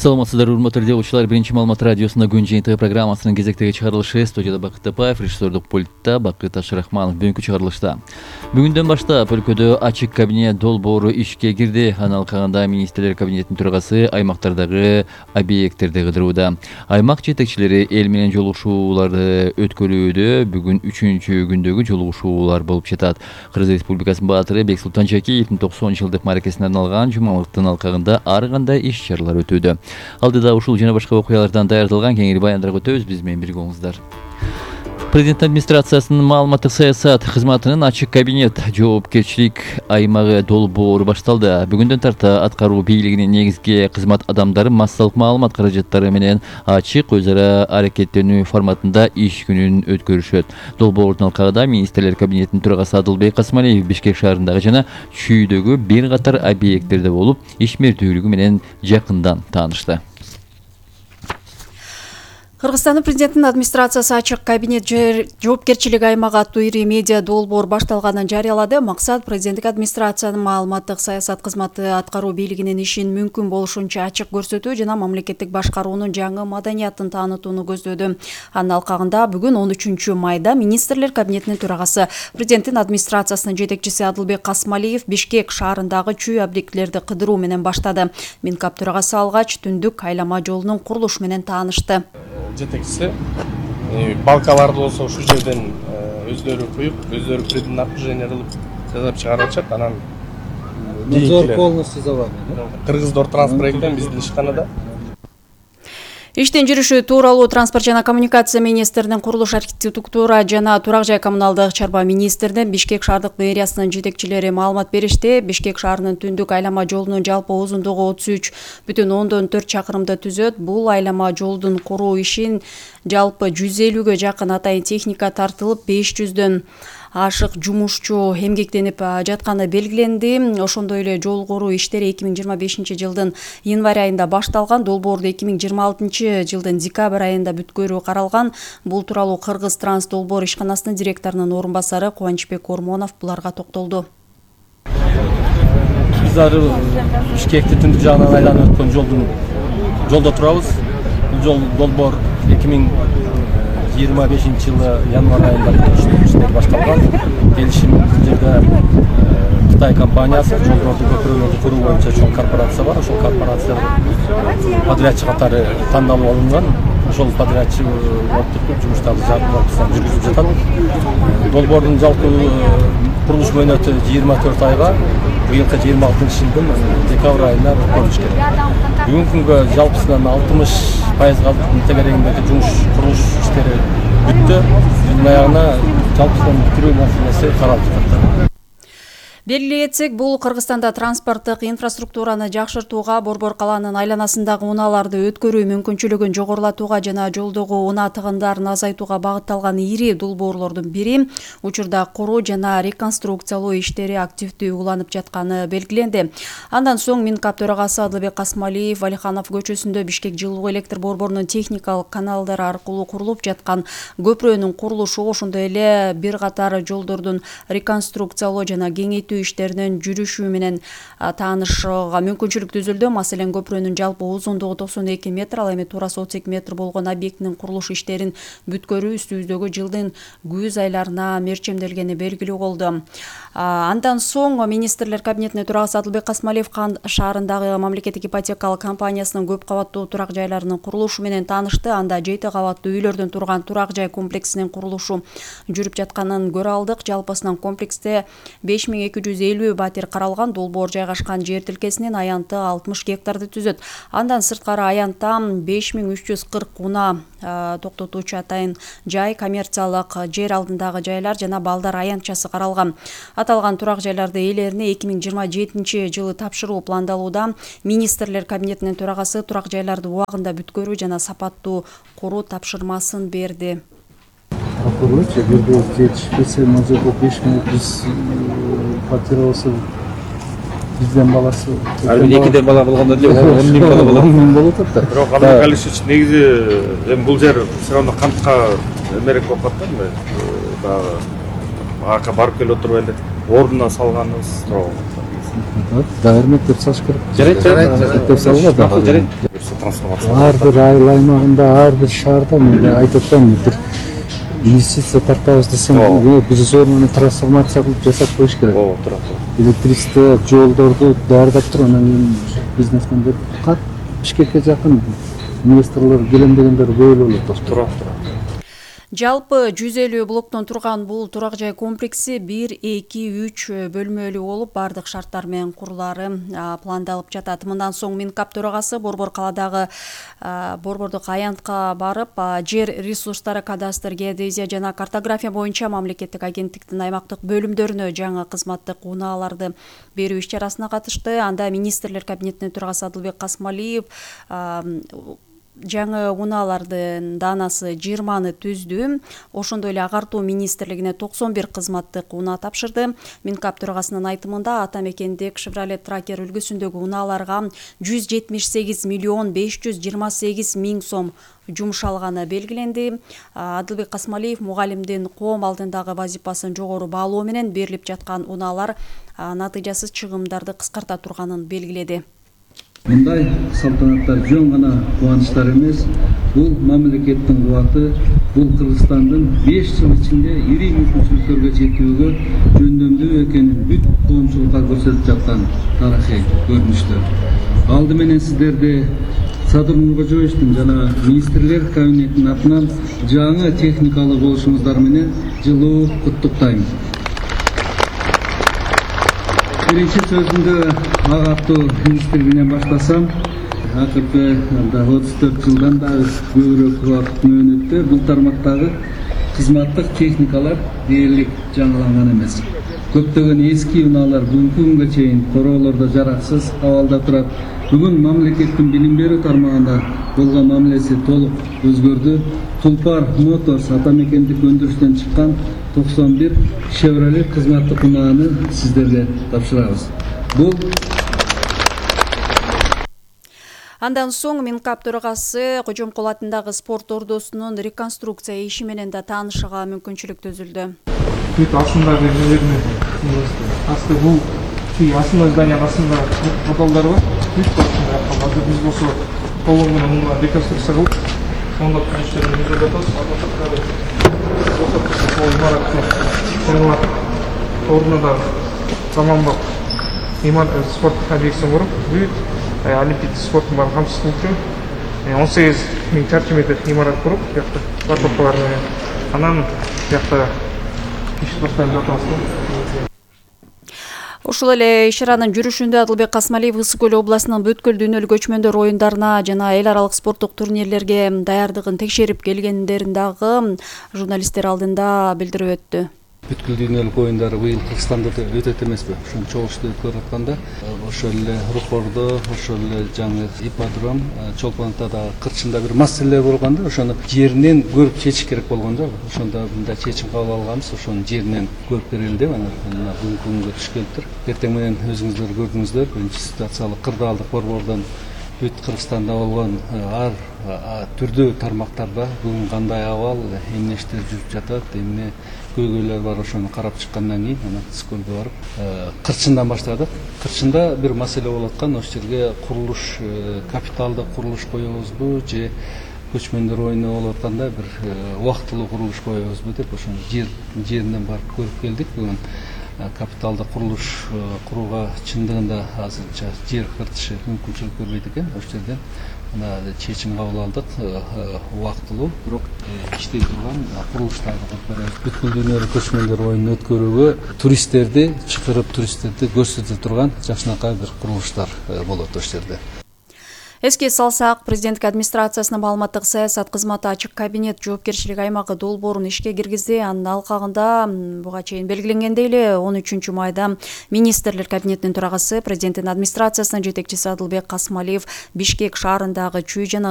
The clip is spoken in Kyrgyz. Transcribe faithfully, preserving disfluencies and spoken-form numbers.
Саламатсыздар, урматтуу радиочулар. Биринчи маалымат радиосунда күн жыйынтыгы программасынын кезектеги чыгарылышы. Студияда Бакыт Тапаев, режиссердук пультта Бакыт Ашрахманов. Бүгүнкү чыгарылышта бүгүндөн баштап өлкөдө ачык кабинет долбоору ишке кирди. Анын алкагында министрлер кабинетинин төрагасы аймактардагы объекттерди кыдырууда. Аймак жетекчилери эл менен жолугушууларды өткөрүүдө бүгүн үчүнчү күндөгү жолугушуулар болуп жатат. Кыргыз Республикасынын баатыры Бексултан Жакиевдин токсон жылдык маракесине арналган жумалыктын алкагында ар кандай иш-чаралар өтүүдө. Алдыда ушул жана башка окуялардан даярдалган кеңири баяндар өтөбүз. Биз менен бирге болуңуздар. Президент администрациясынын маалыматтык саясат кызматынын ачык кабинет жоопкерчилик аймагы долбоору башталды. Бүгүндөн тарта аткаруу бийлигинин негизги кызмат адамдары массалык маалымат каражаттары менен ачык өз ара аракеттенүү форматында иш күнүн өткөрүшөт. Долбоордун алкагында министрлер кабинетинин төрагасы Адылбек Касмалиев Бишкек шаарындагы жана чүйдөгү бир катар объекттерде болуп, ишмердүүлүгү менен жакындан таанышты. Кыргызстандын президентинин администрациясы ачык кабинет жоопкерчилик аймагы аттуу ири медиа долбоор башталганын жарыялады. Максат президенттик администрациянын маалыматтык саясат кызматы аткаруу бийлигинин ишин мүмкүн болушунча ачык көрсөтүү жана мамлекеттик башкаруунун жаңы маданиятын таанытууну көздөдү. Анын алкагында бүгүн он үчүнчү майда министрлер кабинетинин төрагасы президенттин администрациясынын жетекчиси Адылбек Касмалиев Бишкек шаарындагы чүй объектилерди кыдыруу менен баштады. Минкап төрагасы алгач түндүк айлама жолунун курулушу менен таанышты. Жетекчиси балкаларды болсо ушул жерден өздөрү куюп, өздөрү преднапряжение кылып жасап чыгарачат. Анан надзор полностью за вами. Кыргыздор транспорттен биздин ишканада. Иштен жүрүшү тууралуу транспорт жана коммуникация министринин, курулуш архитектура жана турак жай коммуналдык чарба министринин, Бишкек шаардык мэриясынын жетекчилери маалымат беришти. Бишкек шаарынын түндүк айлама жолунун жалпы узундугу отуз үч бүтүн ондон төрт чакырымды түзөт. Бул айлама жолдун куруу ишин жалпы жүз элүүгө жакын атайын техника тартылып, беш жүздөн ашык жумушчу эмгектенип жатканы белгиленди. Ошондой эле жол куруу иштери эки миң жыйырма бешинчи жылдын январь айында башталган. Долбоорду эки миң жыйырма алтынчы жылдын декабрь айында бүткөрүү каралган. Бул тууралуу Кыргыз Транс долбоор ишканасынын директорунун орун басары Кубанычбек Ормонов буларга токтолду. Биз ары Бишкекти түндүк жагынан айланып өткөн жолдун жолдо турабыз. Бул жол долбоор эки миң жыйырма бешинчи жылы январь айында иштер башталган. Келишим бул жерде Кытай компаниясы жолдорду көпүрөлөрдү куруу боюнча чоң корпорация бар. Ошол корпорация подрядчы катары тандалып алынган. Ошол подрядчы оптуктук жумуштарды жүргүзүп жатат. Долбоордун жалпы курулуш мөөнөтү жыйырма төрт айга, быйылкы жыйырма алтынчы жылдын декабрь айында өткөрүлүш керек. Бүгүнкү күнгө жалпысынан алтымыш пайызга тегерегиндеги жумуш курулуш иштери бүттү. Жылдын аягына жалпысынан бүтүрүү маселеси каралып жатат. Белгилей кетсек, бул Кыргызстанда транспорттук инфраструктураны жакшыртууга, Борбор калаанын айланасындагы унааларды өткөрүү мүмкүнчүлүгүн жогорулатууга жана жолдогу унаа тыгындарын азайтууга багытталган ири долбоорлордун бири. Учурда куруу жана реконструкциялоо иштери активдүү уланып жатканы белгиленди. Андан соң Минкап төрагасы Адылбек Касмалиев Алиханов көчөсүндө Бишкек жылуу электр борборунун техникалык каналдары аркылуу курулуп жаткан көпүрөнүн курулушу, ошондой эле бир катар жолдордун реконструкциялоо жана кеңейтүү иштеринин жүрүшү менен таанышууга мүмкүнчүлүк түзүлдү. Маселен, көпүрөнүн жалпы узундугу токсон эки метр, ал эми туурасы отуз эки метр болгон объектинин курулуш иштерин бүткөрүү үстүбүздөгү жылдын күз айларына мерчемделгени белгилүү болду. Андан соң министрлер кабинетинин төрагасы Адылбек Касмалиев Кан шаарындагы мамлекеттик ипотекалык компаниясынын көп кабаттуу турак жайларынын курулушу менен таанышты. Анда жети кабаттуу үйлөрдөн турган турак жай комплексинин курулушу жүрүп жатканын көрө алдык. Жалпысынан комплексте беш миң эки жүз элүү батир каралган. Долбоор жайгашкан жер тилкесинин аянты алтымыш гектарды түзөт. Андан сырткары аянтта беш миң үч жүз кырк унаа токтотуучу атайын жай, коммерциялык жер алдындагы жайлар жана балдар аянтчасы каралган. Аталган турак жайларды ээлерине эки миң жыйырма жетинчи жылы тапшыруу пландалууда. Министрлер кабинетинин төрагасы турак жайларды убагында бүткөрүү жана сапаттуу куруу тапшырмасын берди. Прокурор эгерде жетишпесе, мына беш миң жүз фатир болсо бизден баласы. Ал экиден бала болгондо эле он миң бала болот. он миң болот да. Бирок Али Галишевич негизи эми бул жер все равно кантка эмерек болуп калат да, баягы ака барып келип отуруп эле ордуна салганыбыз тууралуу. Дагы мектеп салыш керек. Жарайт, жарайт. Мектеп салууга дагы Жарайт. Трансформация. ар бир айыл аймагында, ар бир шаарда мен айтып атпаймынбы, бир инвестиция тартабыз десем, биз зор трансформация кылып жасап коюш керек. Ооба, туура. Электричество, жолдорду даярдап туруп, анан кийин бизнесмендер кат Бишкекке жакын инвесторлор келем дегендер көп эле болот. Туура, туура. Жалпы жүз элүү блоктон турган бул турак жай комплекси бир, эки, үч бөлмөлүү болуп, бардык шарттар менен курулары пландалып жатат. Мындан соң Минкап төрагасы Борбор калаадагы Борбордук аянтка барып, жер ресурстары кадастр, геодезия жана картография боюнча мамлекеттик агенттиктин аймактык бөлүмдөрүнө жаңы кызматтык унааларды берүү иш-чарасына катышты. Анда министрлер кабинетинин төрагасы Адылбек Касмалиев жаңы унаалардын даанасы жыйырманы түздү. Ошондой эле агартуу министрлигине токсон бир кызматтык унаа тапшырды. Минкап төрагасынын айтымында ата мекендик Chevrolet Tracker үлгүсүндөгү унааларга жүз жетимиш сегиз миллион беш жүз жыйырма сегиз миң сом жумшалганы белгиленди. Адылбек Касмалиев мугалимдин коом алдындагы вазипасын жогору баалоо менен берилип жаткан унаалар натыйжасыз чыгымдарды кыскарта турганын белгиледи. Мындай салтанаттар жөн гана кубанычтар эмес, бул мамлекеттин кубаты, бул Кыргызстандын беш жыл ичинде ири мүмкүнчүлүктөргө жетүүгө жөндөмдүү экенин бүт коомчулукка көрсөтүп жаткан тарыхый көрүнүштөр. Алды менен сиздерди Садыр Нуркожоевичтин жана министрлер кабинетинин атынан жаңы техникалуу болушуңуздар менен жылуу куттуктайм. Биринчи сөзүмдү агартуу министрлигинен баштасам, акыркы отуз төрт жылдан да көбүрөөк убакыт мөөнөттө бул тармактагы кызматтык техникалар дээрлик жаңыланган эмес. Көптөгөн эски унаалар бүгүнкү күнгө чейин короолордо жараксыз абалда турат. Бүгүн мамлекеттин билим берүү тармагында болгон мамилеси толук өзгөрдү. Тулпар Моторс ата мекендик өндүрүштөн чыккан токсон бир Chevrolet кызматтык унааны сиздерге тапшырабыз. Бул Андан соң Минкап төрагасы Кожомкул атындагы спорт ордосунун реконструкция иши менен да таанышууга мүмкүнчүлүк түзүлдү. Бүт астындагы жерне асты бул асында зданияның астында подвалдар бар. Бүт астында калды. Биз болсо колу менен муну реконструкция кылып, сондап иштерди жүргүзүп жатабыз. Сол имарат ордуна да заманбап имарат спорт объектисин куруп, бүт олимпийский спорттун баарын камсыздуу он сегиз миң чарчы метр имарат куруп, бияқта парковкалар менен. Анан бияқта иш башталып жатабыз. Ушул эле иш-чаранын жүрүшүндө Адылбек Касмалиев Ысык Көл областынын бүткүл дүйнөлүк көчмөндөр оюндарына жана эл аралык спорттук турнирлерге даярдыгын текшерип келгендерин дагы журналисттер алдында билдирип өттү. бүткүл дүйнөлүк оюндар быйыл Кыргызстанда өтөт эмеспи? Ошон чогулушту өткөрүп атканда ошол эле Рухордо, ошол эле жаңы ипподром, Чолпон Атада кырчында бир маселе болгон да, ошону жеринен көрүп чечиш керек болгон да. Ошондо мындай чечим кабыл алганбыз, ошону жеринен көрүп берели деп, анан бүгүнкү күнгө түшкөнтүр. Эртең менен өзүңүздөр көрдүңүздөр, биринчи ситуациялык кырдаалдык борбордон бүт Кыргызстанда болгон ар түрдүү тармактарда бүгүн кандай абал, эмнештер жүрүп жатат, эмне көйгөйлөр бар, ошону карап чыккандан кийин анан Ысыккөлгө барып Кырчындан баштадык. Кырчында бир маселе болуп аткан, ошол жерге курулуш, капиталдык курулуш коебузбу же көчмөндөр оюну болуп атканда бир убактылуу курулуш коебузбу деп ошону жер жеринен барып көрүп келдик. Бүгүн капиталдык курулуш курууга чындыгында азырынча жер кыртышы мүмкүнчүлүк бербейт экен. Ошол жерден мына чечим кабыл алдык, убактылуу бирок иштей турган курулуштарды кылып беребиз. Бүткүл дүйнөлүк көчмөндөр оюнун өткөрүүгө туристтерди чакырып, туристтерди көрсөтө турган жакшынакай бир курулуштар болот ошол жерде. Эске салсак, президенттик администрациясынын маалыматтык саясат кызматы ачык кабинет жоопкерчилик аймагы долбоорун ишке киргизди. Анын алкагында буга чейин белгиленгендей эле он үчүнчү майда министрлер кабинетинин төрагасы, президенттин администрациясынын жетекчиси Адылбек Касмалиев Бишкек шаарындагы Чүй жана